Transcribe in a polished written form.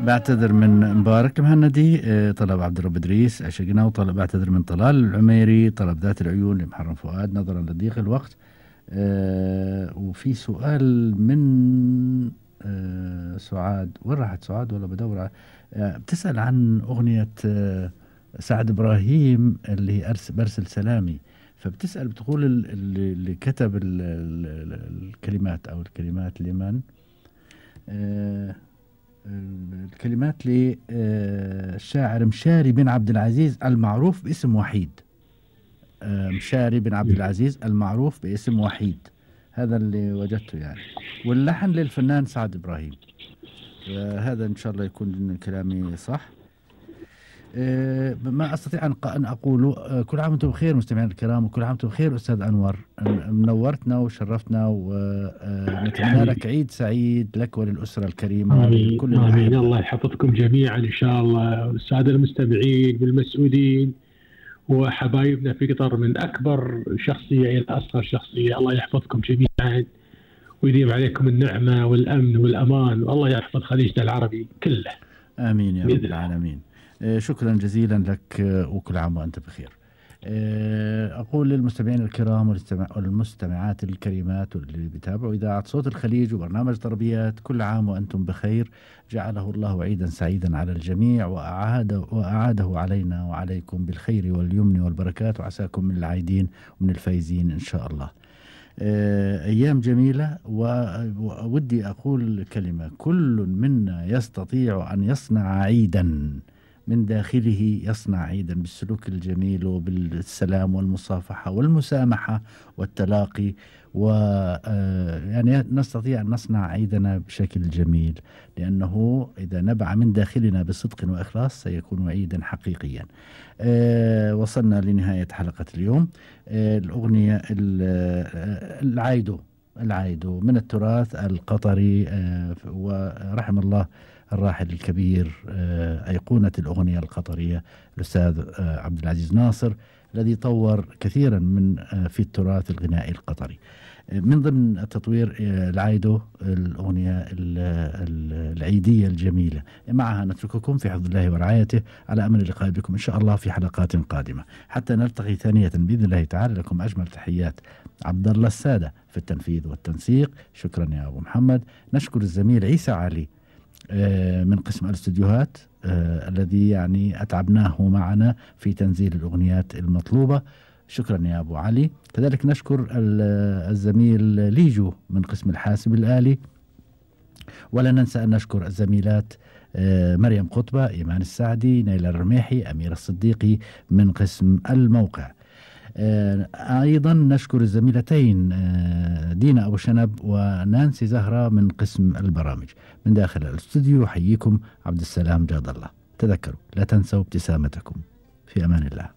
بعتذر من مبارك المهندي، طلب عبد الرب إدريس عشقنا، وطلب بعتذر من طلال العميري، طلب ذات العيون لمحرم فؤاد نظرا لضيق الوقت. وفي سؤال من سعاد، وين راحت سعاد ولا بدور؟ بتسأل عن أغنية سعد إبراهيم اللي برسل سلامي، فبتسأل بتقول اللي كتب الكلمات أو الكلمات لمن؟ الكلمات للشاعر مشاري بن عبد العزيز المعروف باسم وحيد. مشاري بن عبد العزيز المعروف باسم وحيد، هذا اللي وجدته يعني. واللحن للفنان سعد إبراهيم. هذا إن شاء الله يكون كلامي صح. ما أستطيع أن أقول كل عام وأنتم بخير مستمعين الكرام، وكل عام وأنتم بخير أستاذ أنور، منورتنا وشرفتنا، ونتمنى لك عيد سعيد لك وللأسرة الكريمة. آمين آمين. الله يحفظكم جميعا إن شاء الله، والسادة المستمعين والمسؤولين وحبايبنا في قطر من أكبر شخصية إلى أصغر شخصية. الله يحفظكم جميعا ويديم عليكم النعمة والأمن والأمان، والله يحفظ خليجنا العربي كله. آمين يا رب العالمين. شكرا جزيلا لك، وكل عام وأنت بخير. أقول للمستمعين الكرام والمستمعات الكريمات واللي بيتابعوا إذاعة صوت الخليج وبرنامج تربيات، كل عام وأنتم بخير. جعله الله عيدا سعيدا على الجميع، وأعاده علينا وعليكم بالخير واليمن والبركات، وعساكم من العايدين ومن الفايزين إن شاء الله. أيام جميلة، وودي أقول كلمة: كل منا يستطيع أن يصنع عيدا من داخله، يصنع عيدا بالسلوك الجميل وبالسلام والمصافحة والمسامحة والتلاقي، يعني نستطيع أن نصنع عيدنا بشكل جميل، لأنه إذا نبع من داخلنا بصدق وإخلاص سيكون عيدا حقيقيا. وصلنا لنهاية حلقة اليوم. الأغنية العايدو من التراث القطري، ورحم الله الراحل الكبير أيقونة الأغنية القطرية الأستاذ عبد العزيز ناصر، الذي طور كثيرا من في التراث الغنائي القطري. من ضمن التطوير العايدو، الأغنية العيدية الجميلة. معها نترككم في حفظ الله ورعايته، على أمل اللقاء بكم إن شاء الله في حلقات قادمة، حتى نلتقي ثانية بإذن الله تعالى. لكم أجمل تحيات عبد الله السادة في التنفيذ والتنسيق. شكرا يا أبو محمد. نشكر الزميل عيسى علي من قسم الاستديوهات، الذي يعني أتعبناه معنا في تنزيل الأغنيات المطلوبة. شكرا يا أبو علي. كذلك نشكر الزميل ليجو من قسم الحاسب الآلي، ولا ننسى أن نشكر الزميلات مريم قطبة، إيمان السعدي، نيلة الرميحي، أمير الصديقي من قسم الموقع. أيضا نشكر الزميلتين دينا أبو شنب ونانسي زهرة من قسم البرامج. من داخل الاستوديو يحييكم عبد السلام جاد الله. تذكروا لا تنسوا ابتسامتكم. في أمان الله.